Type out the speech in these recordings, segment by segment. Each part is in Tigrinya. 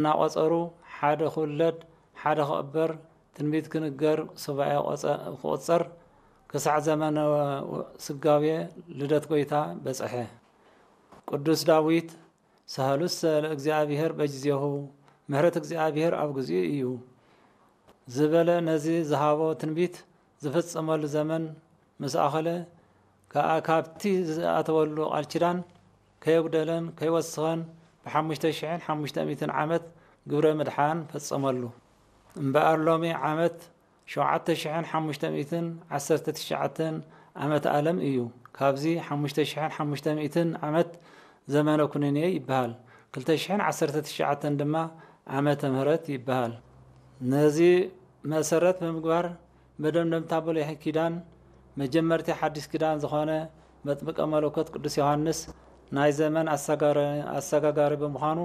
እናቖጸሩ፣ ሓደ ክውለድ ሓደ ክቕበር፣ ትንቢት ክንገር፣ ሱባኤ ቆጸ-፣ ክቑጸር፣ ክሳዕ ዘመነ ስጋዌ ልደት ጐይታ በጽሐ። ቅዱስ ዳዊት፣ "ሰህሉሰ ለእግዚኣብሔር በጊዜሁ፣ ምሕረት እግዚኣብሔር ኣብ ግዚኡ እዩ" ዝበለ፣ ነዚ ዝሃቦ ትንቢት ዝፍጸመሉ ዘመን ምስ ኣኸለ ከኣ፣ ካብቲ ዝኣተወሉ ቃል ኪዳን ከየጉደለን ከይወስኸን፣ ብሓሙሽተ ሽሕን ሓሙሽተ ሚእትን ዓመት ግብረ ምድሓን ፈጸመሉ። እምበኣር ሎሚ ዓመት ሸውዓተ ሽሕን ሓሙሽተ ሚእትን ዓሰርተ ትሽዓተን ዓመት ኣለም እዩ። ካብዚ ሓሙሽተ ሽሕን ሓሙሽተ ሚእትን ዓመት ዘመነ ኩነኔ ይበሃል። ክልተ ሽሕን ዓሰርተ ትሽዓተን ድማ ዓመተ ምህረት ይበሃል። ነዚ መሰረት ብምግባር፣ መደምደምታ ብሉይ ኪዳን፣ መጀመርቲ ሓዲስ ኪዳን ዝኾነ መጥምቀ መለኮት ቅዱስ ዮሃንስ ናይ ዘመን ኣሰጋረ-፣ ኣሰጋጋሪ ብምዃኑ፣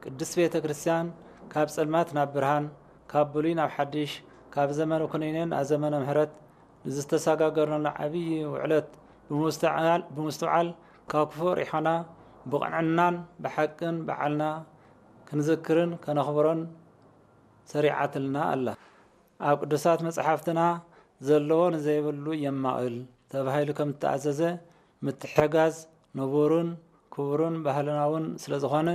ቅድስት ቤተ ክርስቲያን ካብ ጸልማት ናብ ብርሃን፣ ካብ ብሉይ ናብ ሓድሽ፣ ካብ ዘመነ ኩነኔ ናብ ዘመነ ምሕረት ንዝተሰጋገርናሉ ዓብዪ ውዕለት ብምስትዓል-፣ ብምስትውዓል፣ ካብ ክፉእ ርሒቕና ብቕንዕናን ብሓቅን በዓልና ክንዝክርን ከነኽብሮን ሰሪዓትልና ኣላ። ኣብ ቅዱሳት መጽሓፍትና "ዘለዎ ንዘይብሉ የማቕል" ተባሂሉ ከም እተኣዘዘ፣ ምትሕግጋዝ ንቡርን ክቡርን ባህልና እውን ስለ ዝኾነ፣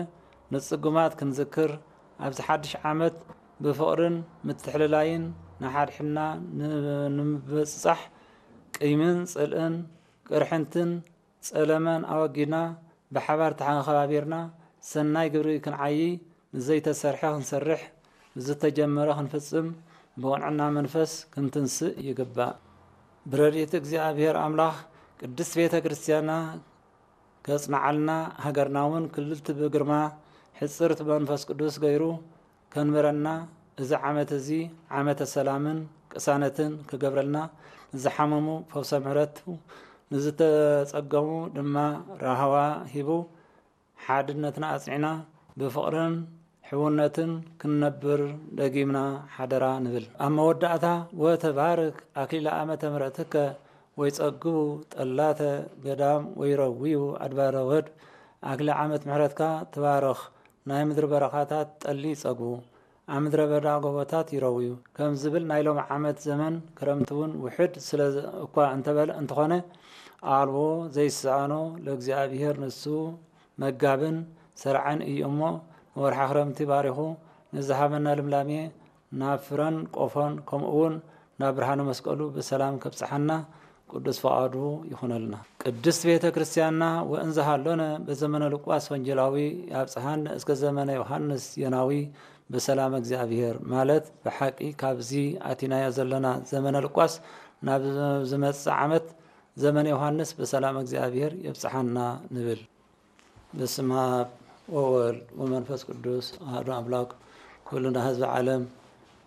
ንጽጉማት ክንዝክር፣ ኣብዚ ሓድሽ ዓመት ብፍቕርን ምትሕልላይን ንሓድሕድና ን-፣ ንምብጽጻሕ፣ ቂምን ጽልእን ቅርሕንትን ጸለመን ኣወጊድና፣ ብሓባር ተሓባቢርና፣ ሰናይ ግብሪ ክንዓዪ፣ ንዘይተሰርሐ ክንሰርሕ፣ ንዝተጀመረ ክንፍጽም፣ ብቕንዕና መንፈስ ክንትንስእ ይግባእ። ብረድኤት እግዚኣብሔር ኣምላኽ ቅድስት ቤተ ክርስቲያንና ከጽንዓልና፣ ሃገርና እውን ክልልቲ ብግርማ ሕጽርት ብመንፈስ ቅዱስ ገይሩ ከንብረና፣ እዚ ዓመት እዚ ዓመተ ሰላምን ቅሳነትን ክገብረልና፣ ንዝሓመሙ ፈውሰ ምሕረቱ፣ ንዝተጸገሙ ድማ ራህዋ ሂቡ፣ ሓድነትና ኣጽኒዕና ብፍቕርን ሕውነትን ክንነብር ደጊምና ሓደራ ንብል። ኣብ መወዳእታ፣ "ወተባርክ ኣክሊለ ዓመተ ምሕረትከ ወይጸግቡ ጠላተ ገዳም ወይረውዩ ኣድባረ ወድ"፣ ኣክሊለ ዓመት ምሕረትካ ትባረኽ፣ ናይ ምድሪ በረኻታት ጠሊ ይጸግቡ፣ ኣብ ምድረ በዳ ጎቦታት ይረውዩ ከም ዝብል፣ ናይ ሎሚ ዓመት ዘመን ክረምቲ እውን ውሑድ ስለ እኳ እንተበለ፣ እንተኾነ፣ ኣልቦ ዘይሰኣኖ ለእግዚኣብሔር፣ ንሱ መጋብን ሰርዓን እዩ እሞ፣ ንወርሓ ክረምቲ ባሪኹ ንዝሃበና ልምላሜ ናብ ፍረን ቆፎን፣ ከምኡ እውን ናብ ብርሃነ መስቀሉ ብሰላም ከብጽሓና ቅዱስ ፈቓዱ ይኹነልና። ቅድስት ቤተ ክርስቲያንና፣ ወእንዘ ሃሎነ በዘመነ ሉቃስ ወንጌላዊ፣ ያብጽሓነ እስከ ዘመነ ዮሃንስ ዜናዊ በሰላም እግዚኣብሔር፣ ማለት ብሓቂ ካብዚ ኣቲናዮ ዘለና ዘመነ ሉቃስ ናብ ዝመጽእ ዓመት ዘመነ ዮሃንስ በሰላም እግዚኣብሔር የብጽሓና ንብል። በስመ አብ ወወልድ ወመንፈስ ቅዱስ አሐዱ አምላክ። ኩልና ህዝቢ ዓለም፣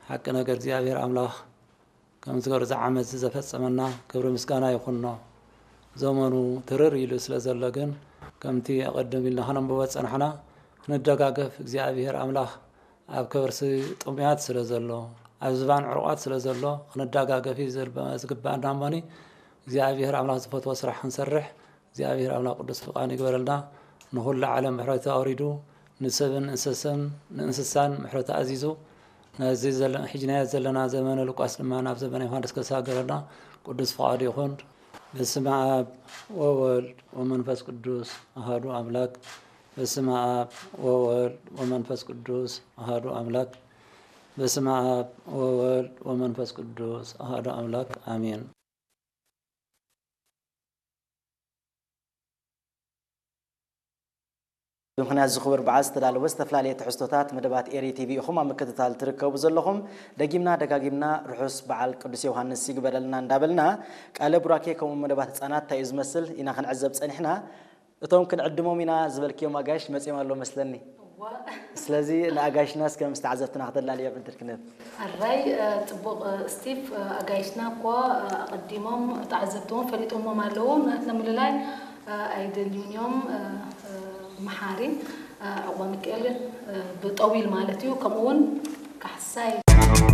ሓቂ ነገር እግዚኣብሔር ኣምላኽ ከምዚ ገይሩ እዚ ዓመት እዚ ዘፈጸመና ክብሪ ምስጋና ይኹኖ። ዘመኑ ትርር ኢሉ ስለ ዘሎ ግን፣ ከምቲ ኣቐድም ኢልና ከነንብቦ ዝጸናሕና፣ ክንደጋገፍ እግዚኣብሔር ኣምላኽ ኣብ ከርሲ ጥሙያት ስለ ዘሎ፣ ኣብ ዝባን ዕሩቓት ስለ ዘሎ፣ ክንደጋገፍ እዩ ዘልበ-፣ ዝግባኣና እሞኒ፣ እግዚኣብሔር ኣምላኽ ዝፈትዎ ስራሕ ክንሰርሕ፣ እግዚኣብሔር ኣምላኽ ቅዱስ ፍቓድ ይግበረልና። ንኹሉ ዓለም ምሕረቱ ኣውሪዱ፣ ንሰብን እንስስን፣ ንእንስሳን ምሕረቱ ኣዚዙ፣ ነዚ ዘለ-፣ ሕጂ ናይ ዘለና ዘመነ ሉቃስ ድማ ናብ ዘመነ ዮሃንስ ከሳገረና ቅዱስ ፍቓዱ ይኹን። በስመ አብ ወወልድ ወመንፈስ ቅዱስ አሐዱ አምላክ። በስመ አብ ወወልድ ወመንፈስ ቅዱስ አሐዱ አምላክ። በስመ አብ ወወልድ ወመንፈስ ቅዱስ አሐዱ አምላክ። አሜን። ብምኽንያት እዚ ክቡር በዓል ዝተዳለወ ዝተፈላለየ ትሕዝቶታት መደባት ኤሪ ቲቪ ኢኹም ኣብ ምክትታል ትርከቡ ዘለኹም። ደጊምና ደጋጊምና ርሑስ በዓል ቅዱስ ዮሃንስ ይግበረልና እንዳበልና፣ ቃለ ቡራኬ ከምኡ መደባት ህፃናት እንታይ እዩ ዝመስል ኢና ክንዕዘብ ጸኒሕና። እቶም ክንዕድሞም ኢና ዝበልክዮም ኣጋይሽ መጺኦም ኣለዉ መስለኒ። እዋ። ስለዚ ንኣጋይሽና እስከ ምስ ተዓዘብትና ክተላልዮም ዕድል ክንህብ። ኣራይ፣ እ፣ ጽቡቕ፣ እ፣ ስቲቭ፣ እ፣ ኣጋይሽና እኮ፣ እ፣ ኣቐዲሞም ተዓዘብትዎም ፈሊጦሞም ኣለዉ። ናትና ምልላይ፣ እ፣ ኣይደልዩን እዮም። እ፣ እ፣ መሓሪ፣ እ፣ ዕቑባ ሚካኤል፣ እ፣ ብጠዊል ማለት እዩ። ከምኡ እውን ካሕሳይ